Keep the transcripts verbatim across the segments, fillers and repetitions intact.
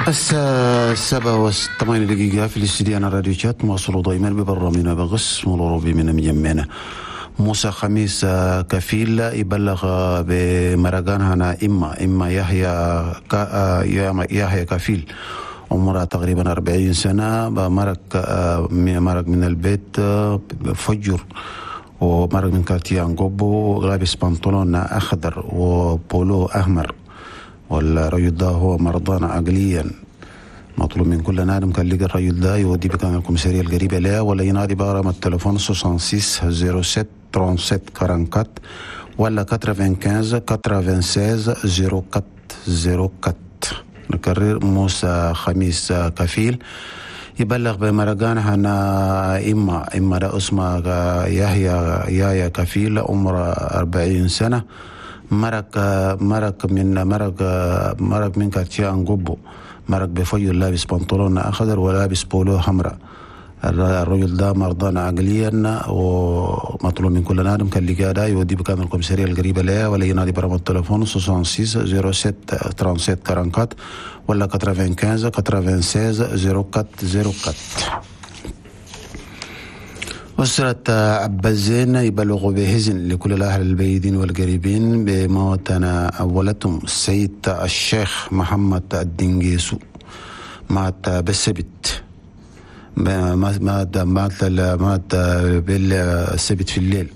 الساعة سبعة وثمانية دقيقة في الاستديو أنا راديو شات مواصلوا دائما ببرنامجنا بغس مولروبي من مجمعنا. موسى خميس كفيل يبلغ بمرقان هنا إما إما يحيى يحيى كفيل عمره تقريبا أربعين سنة، مرق مرق من البيت فجر ومرق من quartier أنقوبو لابس بنطلون أخضر وبولو أحمر، والرجل ده هو مرضان عقليا. مطلوب من كل نادم كان لقى الرجل ده يودي بكان الكوميسارية القريبة له ولا ينادي برقم التليفون ستة وستين صفر سبعة سبعة أربعة وثلاثين ولا خمسة وتسعين ستة وتسعين صفر أربعة صفر أربعة. نكرر، موسى خميس كفيل يبلغ بمرقان هنا إما إما ده اسمه يحيى يحيى كفيل عمره أربعين سنة، مرق مرق من مرق مرق من quartier أنقوبو، مرق بفيو لابس بنطلون أخضر ولابس بولو حمراء. الرجل ده مرضان عقليا ومطلوب من كل نادم كان لقى ده يودي بكان الكوميسارية القريبة له ولا ينادي برقم التليفون ستة وستين صفر سبعة سبعة ثلاثة وأربعين ولا تسعة وتسعين ستة وتسعين صفر أربعة صفر أربعة. أسرة عبد الزين يبلغ بحزن لكل الأهل البيدين والقريبين بموتنا أولتهم السيد الشيخ محمد الدنجيسو، مات بالسبت، مات مات مات بالسبت في الليل،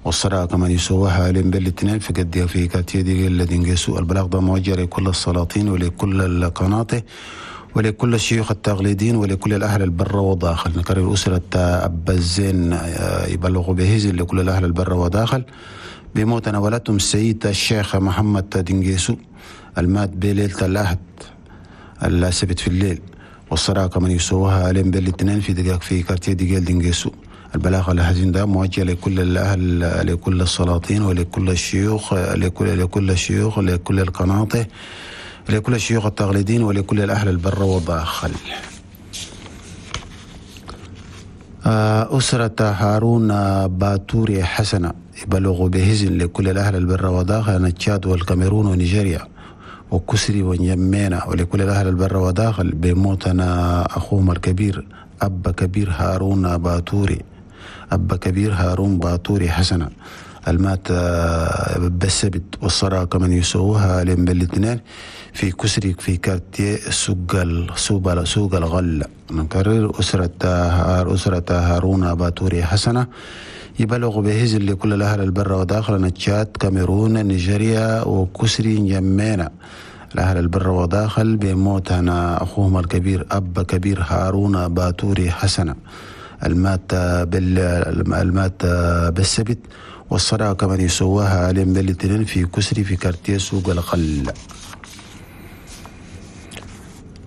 والصلاة كمان يسووها عليهم بالاثنين في قد في كاتيه دي الدنجيسو. البلاغ ده موجه لكل السلاطين ولكل القناطر ولكل الشيوخ التقليديين ولكل الأهل البر وداخل. نكرر، أسرة أبا الزين يبلغ بهزل لكل الأهل البر وداخل بموت ولدتهم السيد الشيخ محمد دنجيسو المات بليلة الأحد السبت في الليل، والصلاة كمان يسووها عليهم بالاثنين في دقائق في كارتيه دقيق دنجيسو. البلاغ الحزين ده موجه لكل الأهل، لكل السلاطين ولكل الشيوخ، لكل لكل الشيوخ، لكل القناطر، لكل الشيوخ التقليديين ولكل الأهل البر والداخل. أسرة هارون باتوري حسنة يبلغ بهزن لكل الأهل البر وداخل تشاد والكاميرون ونيجيريا وكسري ونيمينا ولكل الأهل البر وداخل بموتنا أخوهم الكبير أب كبير هارون باتوري أب كبير هارون باتوري حسنة المات بالسبت، والصلاة كمان يسووها لهم بالاثنين في كسري في quartier سوق سوق سوق الغلة. نكرر، أسرة أسرة هارون باتوري حسنة يبلغ بهزل لكل الأهل البر وداخل تشاد كاميرون نيجيريا وكسري نجمينا. الأهل البر وداخل بموت هنا أخوهم الكبير أب كبير هارون باتوري حسنة المات بال المات بالسبت، والصلاة كمان يسووها عليهم بالاثنين في كسري في quartier سوق القل.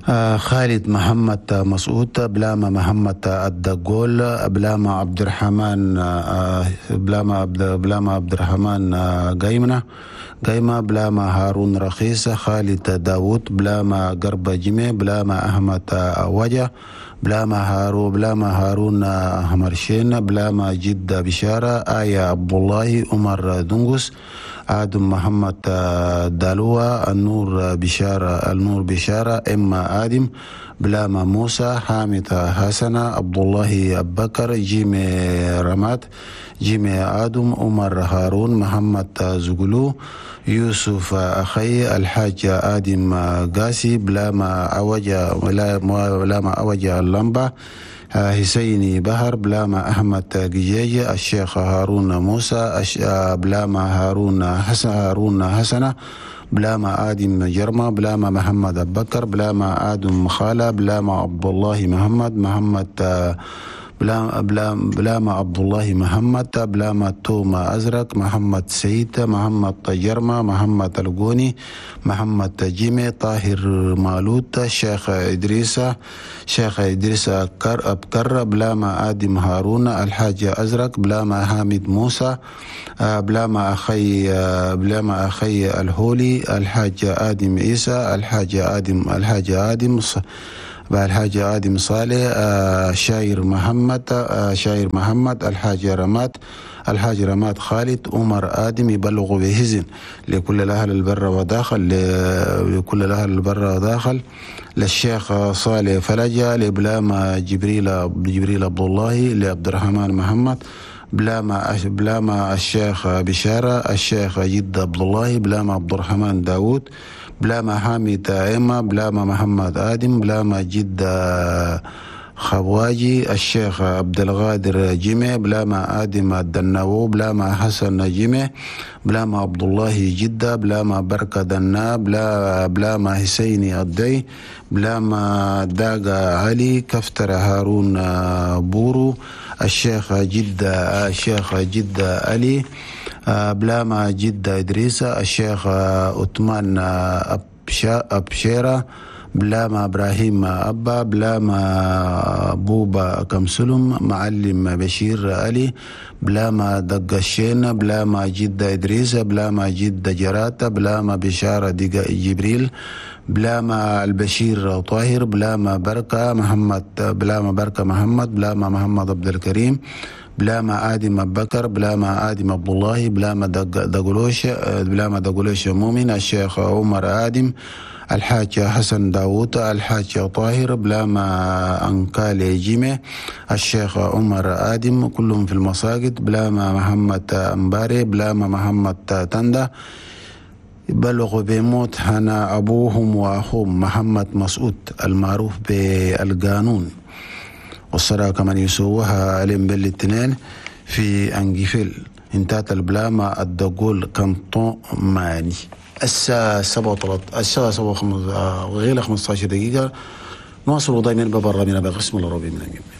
آه خالد محمد مسعود بلاما محمد الدقول بلاما عبد الرحمن آه بلاما عبد بلاما عبد الرحمن آه قايمنا قايمة بلاما هارون رخيص خالد داوود بلاما قرب جمي بلاما أحمد وجه بلاما هارو بلاما هارون همرشين بلاما جدة بشارة آية عبد الله عمر دنقس آدم محمد دالوة النور بشارة النور بشارة إما آدم بلاما موسى حامد حسنة عبد الله أبكر جيمي رماد جيمي آدم عمر هارون محمد زغلو يوسف أخي الحاج آدم قاسي بلاما أوجا بلاما أوجا اللمبة حسيني بهر بلاما أحمد جيجي الشيخ هارون موسى بلاما هارون حسن هارون حسنة بلاما آدم جرمة بلاما محمد أبكر بلاما آدم خالة بلاما عبد الله محمد محمد بلاما بلاما عبد الله محمد بلاما توما أزرق محمد سيد محمد جرمة محمد الجوني محمد جيمي طاهر مالوت شيخ إدريس شيخ إدريس أبكر بلاما آدم هارون الحاج أزرق بلاما حامد موسى بلاما أخي بلاما أخي الهولي الحاج آدم عيسى الحاج آدم الحاج آدم الحاج آدم صالح، شاير محمد، شاير محمد، الحاج رماد، الحاج رماد خالد، عمر آدم. يبلغوا بهزن لكل الأهل البر وداخل، لكل الأهل البر وداخل، للشيخ صالح فلجة، لبلاما جبريل جبريل عبد الله، لعبد الرحمن محمد، بلاما بلاما الشيخ بشارة، الشيخ جد عبد الله، بلاما عبد الرحمن داوود، بلاما حامد إما، بلاما محمد آدم، بلاما جد خواجي، الشيخ عبد الغادر جمع، بلاما آدم الدناو، بلاما حسن جمع، بلاما عبد الله جدة، بلاما بركة دنا، بلا بلاما حسيني الدي، بلاما داغا علي، كفتر هارون بورو، الشيخ جدة الشيخ جدة علي، بلاما جدة إدريس، الشيخ عثمان أبشيرة، بلاما إبراهيم أبا، بلاما بوبا كمسلم، معلم بشير علي، بلاما دقشين، بلاما جدة إدريس، بلاما جدة جراتة، بلاما بشارة جبريل، بلاما البشير طاهر، بلاما بركة محمد، بلاما بركة محمد، بلاما محمد عبد الكريم، بلاما آدم أبو بكر، بلاما آدم عبد الله، بلاما دقلوش، بلاما دقلوش مؤمن، الشيخ عمر آدم، الحاج حسن داوود، الحاج طاهر، بلاما أنكالي جيمي، الشيخ عمر آدم، كلهم في المساجد، بلاما محمد أمباري، بلاما محمد تندا. بلغوا بموت هنا أبوهم وأخوهم محمد مسعود المعروف بالقانون، والصلاة كمان يسووها علم بالاثنين في أنجفيل انتهت البلاما الدقول كانتون ماني. الساعة سبعة الساعة سبعة غير خمسة عشر دقيقة. نواصل دائما ببرنامجنا بقسم العربي من أنجب.